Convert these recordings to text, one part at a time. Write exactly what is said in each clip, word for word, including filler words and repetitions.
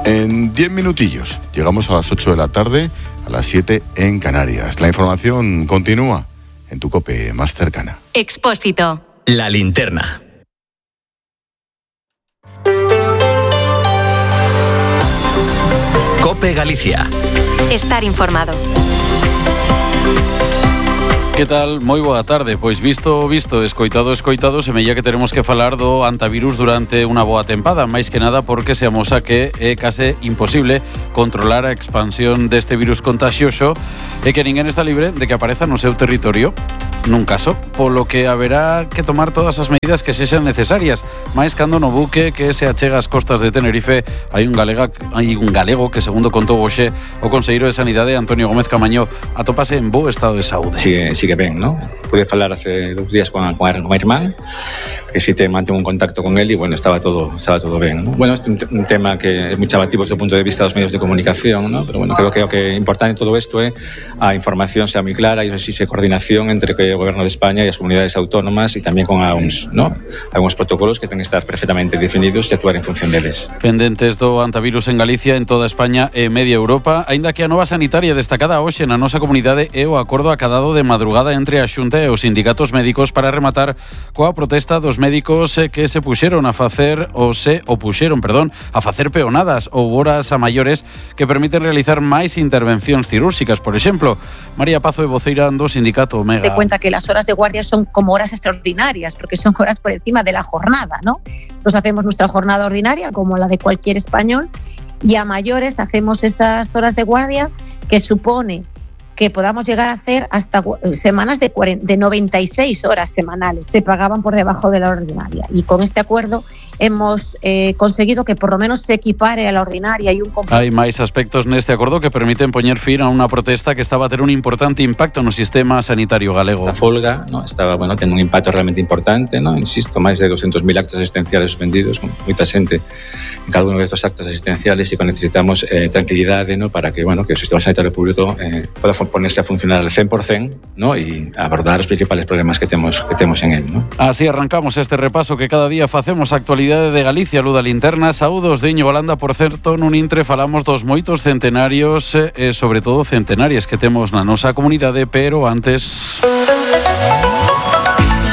En diez minutillos llegamos a las ocho de la tarde, a las siete en Canarias. La información continúa en tu COPE más cercana. Expósito. La linterna. COPE Galicia. Estar informado. Que tal? Moi boa tarde. Pois visto, visto, escoitado, escoitado, semella que teremos que falar do antivirus durante unha boa tempada, máis que nada porque se amosa que é case imposible controlar a expansión deste virus contagioso e que ninguén está libre de que apareza no seu territorio nun caso, polo que haberá que tomar todas as medidas que sexan necesarias, máis cando no buque que se achega ás costas de Tenerife hai un galega, hai un galego que, segundo contou hoxe o conselleiro de Sanidade Antonio Gómez Camaño, atópase en bo estado de saúde. Sigue, sigue ben, ¿no? Pude falar hace dos días con, con, con a irmán, que si te mantengo un contacto con él y bueno, estaba todo, estaba todo ben, ¿no? Bueno, este é un, un tema que é moi chamativo desde o punto de vista dos medios de comunicación, ¿no? Pero bueno, creo que o que é importante en todo isto é a información sea moi clara e existe coordinación entre que o Goberno de España e as comunidades autónomas e tamén con a U N S, ¿no? Algúns protocolos que ten que estar perfectamente definidos e actuar en función deles. Pendentes do antivirus en Galicia, en toda España e media Europa, aínda que a nova sanitaria destacada hoxe na nosa comunidade é o acordo acadado de madrugada entre a Xunta e os sindicatos médicos para rematar coa protesta dos médicos que se puxeron a facer ou se opuxeron, perdón, a facer peonadas ou horas a maiores que permiten realizar máis intervencións cirúrxicas, por exemplo. María Pazo é voceira do sindicato Omega. Te cuenta que las horas de guardia son como horas extraordinarias porque son horas por encima de la jornada, ¿no? Entonces hacemos nuestra jornada ordinaria como la de cualquier español y a mayores hacemos esas horas de guardia que supone que podamos llegar a hacer hasta semanas de, cuarenta, de noventa y seis horas semanales. Se pagaban por debajo de la ordinaria. Y con este acuerdo hemos eh, conseguido que por lo menos se equipare a la ordinaria y un compromiso. Hai máis aspectos neste acordo que permiten poñer fin a unha protesta que estaba a ter un importante impacto no sistema sanitario galego. A folga, ¿no? Estaba, bueno, tendo un impacto realmente importante, ¿no? Insisto, máis de doscientos mil actos asistenciales suspendidos, con moita xente en cada uno de estos actos asistenciales e que necesitamos eh, tranquilidade, ¿no? Para que, bueno, que o sistema sanitario público eh, pueda ponerse a funcionar al cien por ciento, ¿no? Y abordar os principales problemas que temos que temos en él, ¿no? Así arrancamos este repaso que cada día facemos a actualidade de Galicia, Luda Linterna. Saúdos de Íñigo Holanda, por certo, nun intre falamos dos moitos centenarios e sobre todo centenarias que temos na nosa comunidade, pero antes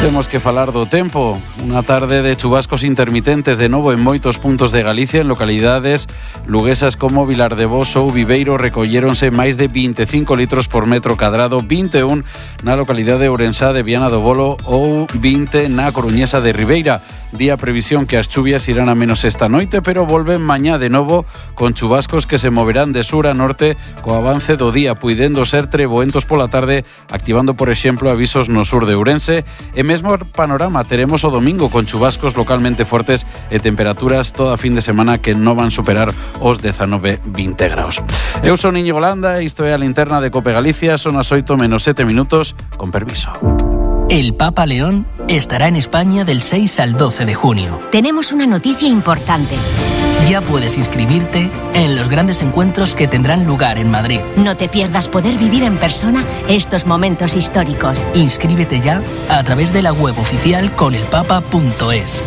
temos que falar do tempo. Unha tarde de chubascos intermitentes de novo en moitos puntos de Galicia, en localidades luguesas como Vilar de Bos ou Viveiro recolléronse máis de vinte e cinco litros por metro cadrado, vinte e un na localidade ourensá de Viana do Bolo ou vinte na coruñesa de Ribeira. Día previsión que as chuvias irán a menos esta noite, pero volven mañá de novo con chubascos que se moverán de sur a norte co avance do día, puidendo ser treboentos pola tarde, activando, por exemplo, avisos no sur de Ourense. E mesmo panorama teremos o domingo con chubascos localmente fortes e temperaturas toda fin de semana que non van superar os dezanove vinte graus. Eu son Íñigo Holanda, isto é a linterna de COPE Galicia, son as oito menos sete minutos, con permiso. El Papa León estará en España del seis al doce de junio. Tenemos una noticia importante. Ya puedes inscribirte en los grandes encuentros que tendrán lugar en Madrid. No te pierdas poder vivir en persona estos momentos históricos. Inscríbete ya a través de la web oficial conelpapa punto es.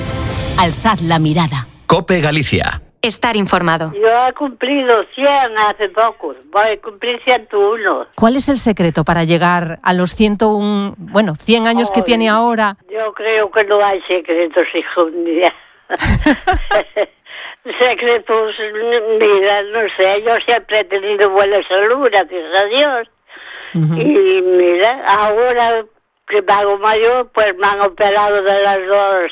Alzad la mirada. COPE Galicia. Estar informado. Yo he cumplido cien hace poco, voy a cumplir ciento uno. ¿Cuál es el secreto para llegar a los ciento uno, bueno, cien años Ay, que tiene ahora? Yo creo que no hay secretos, hijo mío. Secretos, mira, no sé, yo siempre he tenido buena salud, gracias a Dios. Uh-huh. Y mira, ahora que me hago mayor, pues me han operado de las dos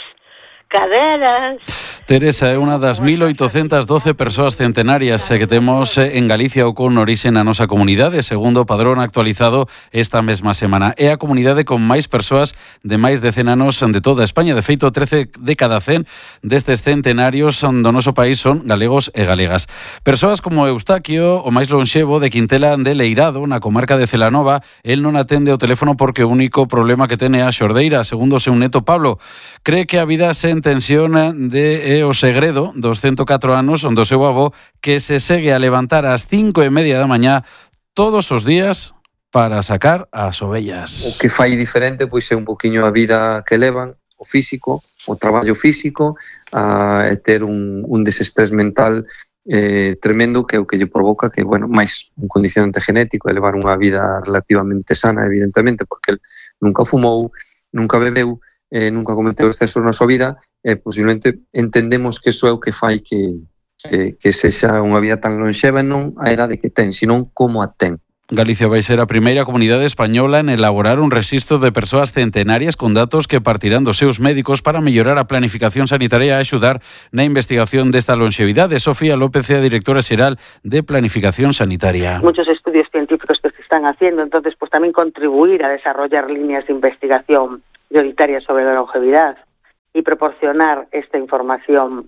caderas. Teresa é unha das mil oitocentas doce persoas centenarias que temos en Galicia ou con orixe na nosa comunidade, segundo o padrón actualizado esta mesma semana. É a comunidade con máis persoas de máis de cen anos de toda España. De feito, trece de cada cen destes centenarios do noso país son galegos e galegas. Persoas como Eustaquio, o máis lonxevo de Quintela de Leirado, na comarca de Celanova, el non atende o teléfono porque o único problema que ten é a xordeira, segundo o seu neto Pablo. Cree que a vida sen tensión de o segredo dos ciento catro anos onde o seu avó que se segue a levantar ás cinco e media da mañá todos os días para sacar as ovellas. O que fai diferente pois é un poquinho a vida que levan, o físico, o traballo físico, a ter un, un desestrés mental eh, tremendo que é o que lle provoca que, bueno, máis un condicionante genético é levar unha vida relativamente sana, evidentemente, porque el nunca fumou, nunca bebeu, eh, nunca cometeu excesos na súa vida, e eh, posiblemente entendemos que iso é o que fai que, que, que sexa unha vida tan lonxeva, non a edade que ten, senón como a ten. Galicia vai ser a primeira comunidade española en elaborar un rexistro de persoas centenarias con datos que partirán dos seus médicos para mellorar a planificación sanitaria e axudar na investigación desta longevidade. Sofía López é a directora xeral de Planificación Sanitaria. Muchos estudios científicos que se están haciendo, entonces pues también contribuir a desarrollar líneas de investigación prioritarias sobre la longevidad y proporcionar esta información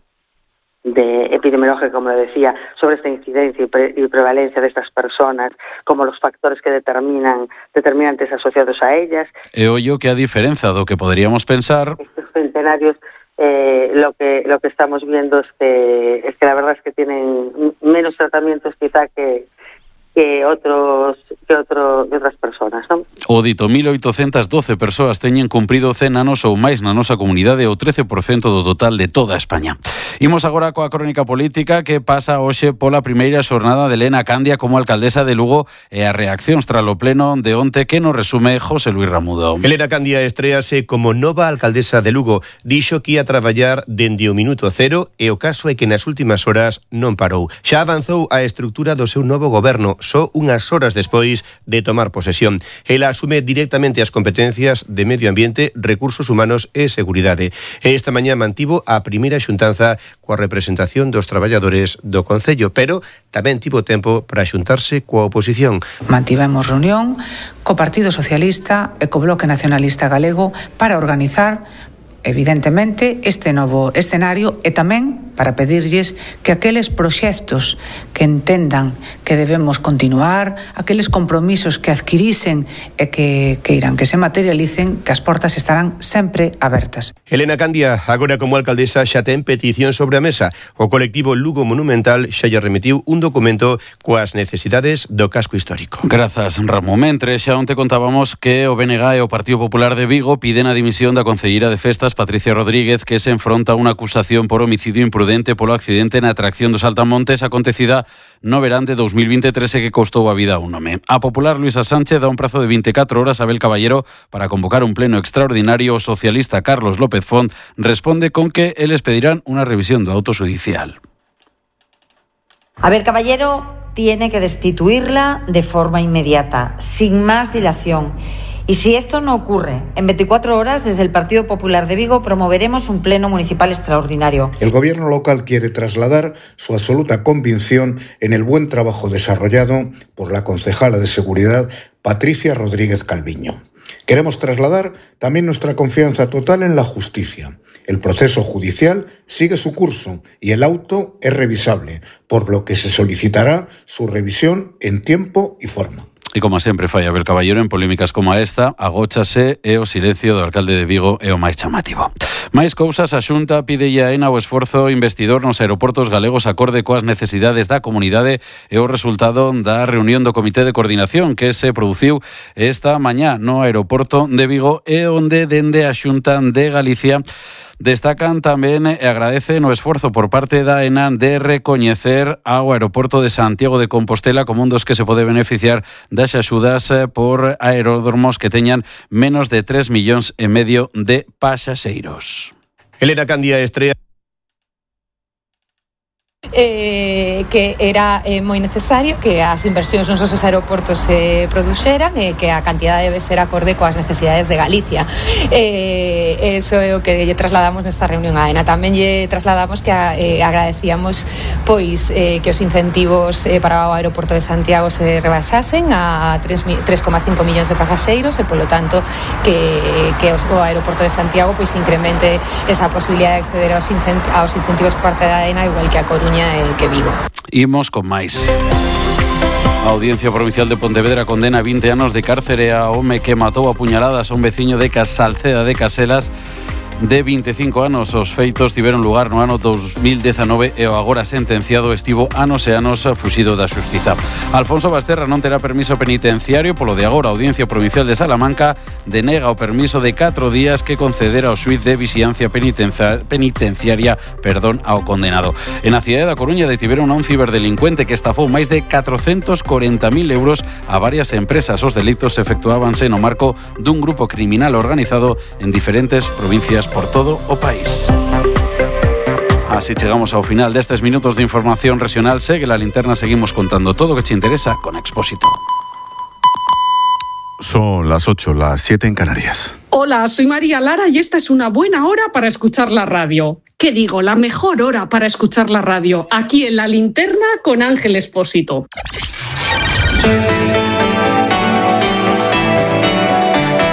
de epidemiológica, como decía, sobre esta incidencia y, pre y prevalencia de estas personas, como los factores que determinan determinantes asociados a ellas. E ollo que a diferenza do que poderíamos pensar, estos centenarios eh, lo que lo que estamos viendo es que es que la verdad es que tienen menos tratamientos quizá que que otros que, otro, que outras persoas, non? O dito mil oitocentas doce persoas teñen cumprido cen anos ou máis na nosa comunidade, o trece por cento do total de toda España. Imos agora coa crónica política que pasa hoxe pola primeira xornada de Elena Candia como alcaldesa de Lugo e a reaccións tras o pleno de onte que nos resume José Luis Ramudo. Elena Candia estréase como nova alcaldesa de Lugo. Dixo que ia traballar dende o minuto cero e o caso é que nas últimas horas non parou. Xa avanzou a estrutura do seu novo goberno, só unhas horas despois de tomar posesión. Ela asume directamente as competencias de Medio Ambiente, Recursos Humanos e Seguridade. E esta mañá mantivo a primeira xuntanza coa representación dos traballadores do Concello, pero tamén tivo tempo para xuntarse coa oposición. Mantivemos reunión co Partido Socialista e co Bloque Nacionalista Galego para organizar evidentemente este novo escenario e tamén para pedirlles que aqueles proxectos que entendan que debemos continuar, aqueles compromisos que adquirisen e que, que irán que se materialicen, que as portas estarán sempre abertas. Elena Candia, agora como alcaldesa, xa ten petición sobre a mesa. O colectivo Lugo Monumental xa lle remitiu un documento coas necesidades do casco histórico. Grazas, Ramón. Mentre xa onte contábamos que o B N G e o Partido Popular de Vigo piden a dimisión da concelleira de Festas, Patricia Rodríguez, que se enfronta a unha acusación por homicidio imprudente polo accidente na atracción dos Saltamontes acontecida no verán de dos mil veintitrés e que costou a vida a un home. A popular Luisa Sánchez dá un prazo de veinticuatro horas a Abel Caballero para convocar un pleno extraordinario. O socialista Carlos López Font responde con que eles pedirán unha revisión do auto judicial. Abel Caballero tiene que destituirla de forma inmediata, sin más dilación. Y si esto no ocurre, en veinticuatro horas, desde el Partido Popular de Vigo promoveremos un pleno municipal extraordinario. El gobierno local quiere trasladar su absoluta convicción en el buen trabajo desarrollado por la concejala de Seguridad, Patricia Rodríguez Calviño. Queremos trasladar también nuestra confianza total en la justicia. El proceso judicial sigue su curso y el auto es revisable, por lo que se solicitará su revisión en tiempo y forma. E como sempre fai Abel Caballero en polémicas como esta, agóchase e o silencio do alcalde de Vigo é o máis chamativo. Máis cousas, a Xunta pide a ENA o esforzo investidor nos aeroportos galegos acorde coas necesidades da comunidade e o resultado da reunión do Comité de Coordinación que se produciu esta mañá no aeroporto de Vigo e onde dende a Xunta de Galicia destacan tamén e agradecen o esforzo por parte da ENA de recoñecer ao aeroporto de Santiago de Compostela como un dos que se pode beneficiar das axudas por aeródromos que teñan menos de tres millóns e medio de pasaxeiros. Elena Candia estrea Eh, que era eh, moi necesario que as inversións nos nosos aeroportos se produxeran e que a cantidade debe ser acorde coas necesidades de Galicia. Eh, eso é o que lle trasladamos nesta reunión a ENA. Tamén lle trasladamos que a, eh, agradecíamos pois eh, que os incentivos eh, para o aeroporto de Santiago se rebaixasen a tres coma cinco millóns de pasaxeiros e polo tanto que, que os, o aeroporto de Santiago pois incremente esa posibilidade de acceder aos, incent aos incentivos por parte da ENA igual que a Coruña que Vigo. Imos con máis. A Audiencia Provincial de Pontevedra condena vinte anos de cárcere a home que matou a puñaladas a un veciño de Salceda de Caselas de veinticinco anos. Os feitos tiveron lugar no ano dos mil diecinueve e o agora sentenciado estivo anos e anos fuxido da xustiza. Alfonso Basterra non terá permiso penitenciario polo de agora. A Audiencia Provincial de Salamanca denega o permiso de catro días que concedera o xuiz de vixiancia penitenciaria perdón, ao condenado. En a cidade da Coruña detiveron a un ciberdelincuente que estafou máis de catrocentos corenta mil euros a varias empresas. Os delitos efectuábanse no marco dun grupo criminal organizado en diferentes provincias por todo o país. Así llegamos ao final destes minutos de información regional. Segue la linterna, seguimos contando todo o que te interesa con Expósito. Son las ocho, las siete en Canarias. Hola, soy María Lara y esta es una buena hora para escuchar la radio. ¿Qué digo? La mejor hora para escuchar la radio, aquí en La Linterna con Ángel Expósito.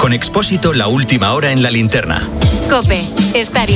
Con Expósito, la última hora en La Linterna. COPE, estar